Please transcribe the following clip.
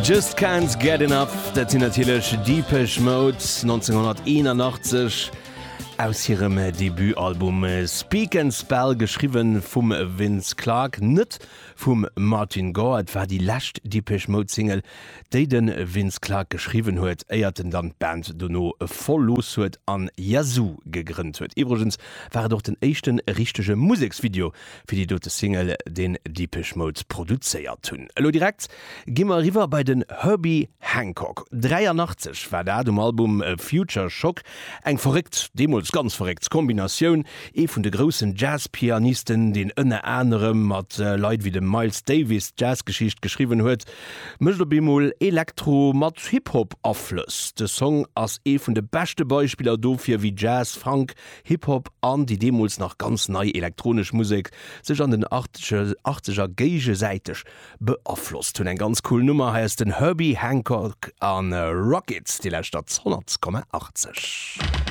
Just Can't Get Enough, dat sinn natierlech Depeche Mode, 1981 aus hirem Debutalbum Speak and Spell, geschriwwe vum Vince Clarke, net vum Martin Gore. Et war déi lescht Depeche Mode Single, déi de Vince Clarke geschriwwen huet, éiert en dann d'Band dono verlooss huet an Yazoo gegrënnt huet. Iwwregens war et och den éischte richtege Museksvideo fir déi dote Single, deen Depeche Mode produzéiert hunn. Elo direkt gi mer eriwwer bei den Herbie Hancock. 83 war dat um Album Future Shock. Eng verréckt, deemools ganz verréckt Kombinatioun. Ee vun de groussen Jazz-Pianisten, deen ënner anerem mat Leit wéi dem Miles Davis d'Jazzgeschicht geschriwwen huet, mécht op eemol Elektro mat Hip-Hop-Aflëss. De Song ass ee vun de beschte Beispiller dofir, wéi Jazz, Funk, Hip-Hop an déi deemools nach ganz nei elektronesch Musek sech an den Achtzeger géigesäiteg beaflosst hunn. Eng ganz cool Nummer, hei ass den Herbie Hancock a Rockets, Dir lauschtert 100,80.